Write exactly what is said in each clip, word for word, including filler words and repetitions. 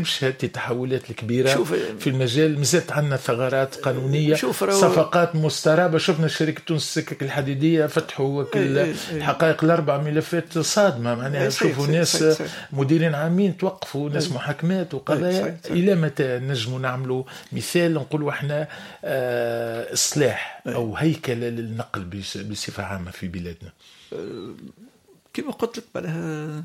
تواكبش هذه التحولات الكبيرة شوف في المجال. مازالت عندنا ثغرات قانونيه، شوف صفقات مسترابه. شفنا شركة تونس السكك الحديدية فتحوا الحقائق الاربع، ملفات صادمه معناها. شوفوا ناس مديرين عامين توقفوا، ناس محاكمات وقضايا. الى متى نجموا نعملوا مثال نقولوا احنا اه اصلاح او هيكله للنقل بصفة عامة في بلادنا؟ كما قلت لك معناها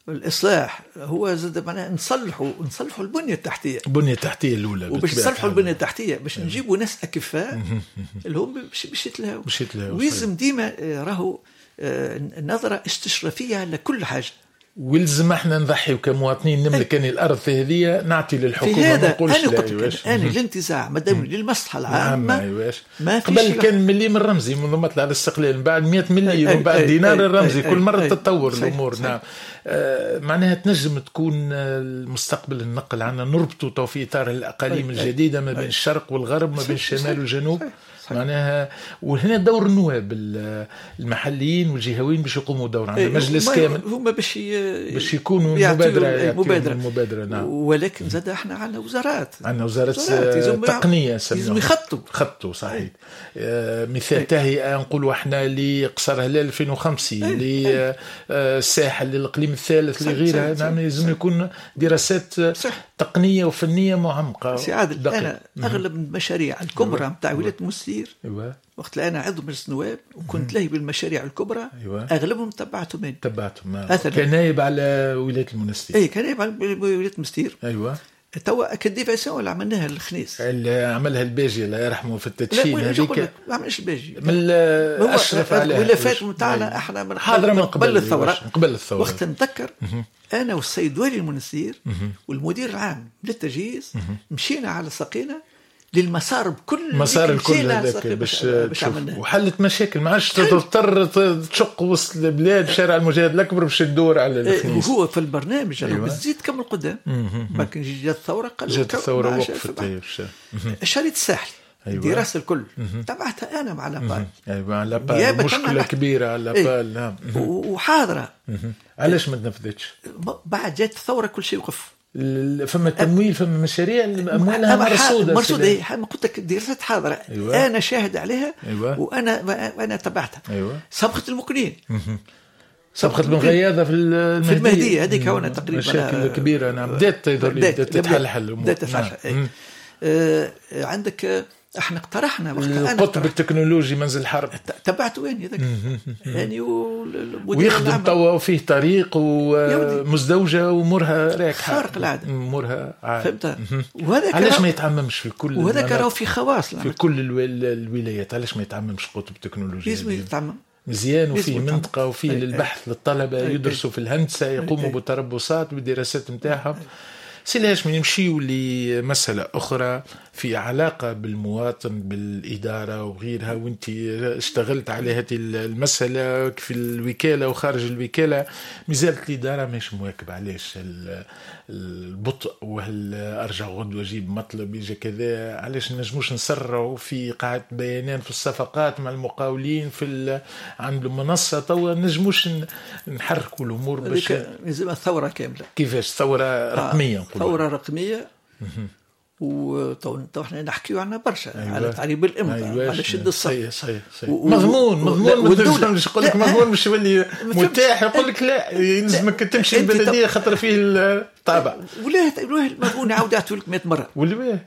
الاصلاح هو زاد معناها نصلحوا نصلحوا البنية التحتيه. البنية التحتية الاولى. وباش نصلحوا البنية التحتية باش نجيبوا ناس اكفاء اللي هم باش باش يتلهوا باش يتلهوا. ويلزم ديما راهو نظره استشرافيه على كل حاجه. ويلزم احنا نضحي كمواطنين، نملك أن الارض هذه نعطي للحكومه، ما نقولش لا. انا قلت انا الانتزاع مادام للمصلحة العامه. أيواش. ما قبل كان مليم الرمزي منذ مطلع الاستقلال، من بعد مية مليم، من بعد دينار الرمزي، كل مرة تتطور الامور. نعم آه معناها تنجم تكون المستقبل النقل عندنا نربطوا تو في اطار الاقاليم الجديدة ما بين الشرق والغرب، ما بين الشمال والجنوب. معناها وهنا دور النواب المحليين والجهويين باش يقوموا دور عندنا مجلس كامل هما باش ي... باش يكونوا مبادرة مبادرة المبادرة. نعم. ولكن زاد احنا عندنا وزارات، عندنا وزارات تقنية لازم يخطوا خطوا صحيح. آه مثال تهيئة نقولوا احنا لقصر هلال ألفين وخمسين، للساحل، للاقليم الثالث، لغيرها. نعم لازم يكون دراسات تقنية وفنيه معمقة. سي عادل، انا اغلب المشاريع الكبرى نتاع ولاية المستير، أيوة. وقت انا عضو مجلس النواب وكنت لاهي بالمشاريع الكبرى، أيوة. اغلبهم تبعتهم انا. تبعتهم كنايب على ولاية المنستير. اي كنايب على ولاية المنستير. ايوه. توا ال déviation اللي عملناها للخنيس، اللي عملها الباجي الله يرحمه في التدشين هذيك. ما عملش الباجي من اشرف عليها الولافات نتاعنا احنا من حاضره من قبل الثوره. قبل الثورة وقت نتذكر انا والسيد والي المنستير والمدير العام للتجهيز مشينا على ساقينا للمسار بكل مسار الكل هذاك باش باش وحلت مشاكل، ما عادش تضطر تشق وسط البلاد شارع المجاهد الاكبر باش تدور على الخنيس. وهو في البرنامج أيوة. بتزيد كم القدام. لكن جات الثورة قالوا جات الثورة وقفت. الشريط الساحلي أيوة. الدراسة الكل تبعتها انا مع l'APAL. ايوه مع l'APAL، مشكلة كبيرة على l'APAL. نعم. وحاضره. علاش ما تنفذتش؟ بعد جات الثورة كل شيء وقف. فما تمويل، فما مشاريع اموالها مرصوده. مرصوده إيه. قلت لك دراسات حاضره. أيوة. انا شاهد عليها. أيوة. وانا وانا تبعتها. أيوة. سبقت المقنين، سبقت بن غياضه في المهدية. في المهدية هذيك هنا تقريبا مشاكل كبيرة. نعم بدات بدات تتحلحل الامور، بدات تتحلحل. آه عندك احنا اقترحنا وقت القطب التكنولوجي منزل حرب تبعت وين هذاك يعني ويخدم توا وفيه طريق ومزدوجه وامورها راكحه خارق العادة، امورها فهمت. وهذا علاش ما يتعممش في كل، وهذاك راهو في خواص في كل الولايات، علاش ما يتعممش القطب التكنولوجي؟ لازم يتعمم مزيان، وفيه منطقة وفيه للبحث للطلبة يدرسوا في الهندسة، يقوموا بتربصات بالدراسات نتاعهم. سي الهاشمي نمشيو لمسألة أخرى في علاقة بالمواطن بالإدارة وغيرها، وانت اشتغلت على هذه المسألة في الوكالة وخارج الوكالة. مازالت الإدارة مش مواكبة، علاش البطء وهل أرجع غدوة أجيب مطلب يجي كذا؟ علاش نجموش نسرعوا في قاعدة بيانات في الصفقات مع المقاولين في عند المنصة؟ توا نجموش نحركوا الأمور باش لازم الثورة كاملة. كيفاش ثورة رقمية؟ آه. ثورة رقمية. وتو احنا نحكيو عنها برشا. أيوة. على تعريب الامضاء. أيوة. على شد الصف. صحيح صحيح صحيح. و... مضمون مضمون مش يقول لك مضمون مش يولي متاح، يقول لك لا يلزمك تمشي البلدية خاطر فيه الطابع. ولا المضمون يعاود يعطوا لك مية مرة. ولا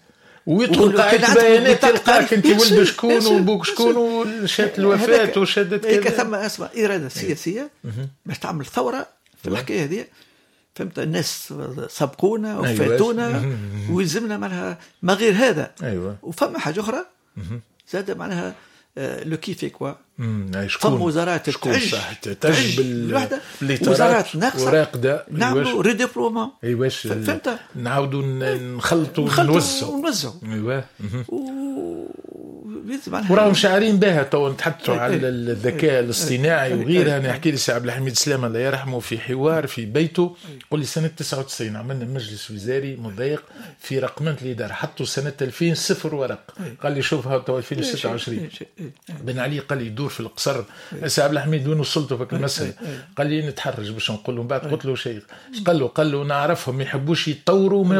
ويدخل قاعدة بيانات تلقاك انت ولد شكون وبوك شكون وشهادة الوفاة وشهادة كذا. ثم اسمع اراده سياسية باش تعمل ثورة في الحكاية هذه. فهمت؟ الناس سبقونا وفاتونا. أيوة. ويلزمنا معناها ما غير هذا. أيوة. وفما حاجة اخرى زاد معناها le qui fait quoi. فما وزارات تعج تعج بالوحدة، وزارات ناقصه وراقده، نعملوا redéploiement. ايوا فهمت؟ نعاودوا نخلطوا ونوزعوا ونوزعوا. ايوا و... وراهم شعارين بها تو نتحدثوا على الذكاء الاصطناعي وغيرها. انا نحكي لي سي عبد الحميد سلامه الله يرحمه في حوار في بيته، قال لي سنة تسعة وتسعين عملنا مجلس وزاري مضايق في رقمنه الادارة، حطوا سنة ألفين صفر ورق. قال لي شوفها تو ألفين وستة وعشرين. بن علي قال لي يدور في القصر، سي عبد الحميد وين وصلتوا في المسالة؟ قال لي نتحرج باش نقول له. من بعد قلت له شيء، قال له قال له نعرفهم ما يحبوش يتطوروا وما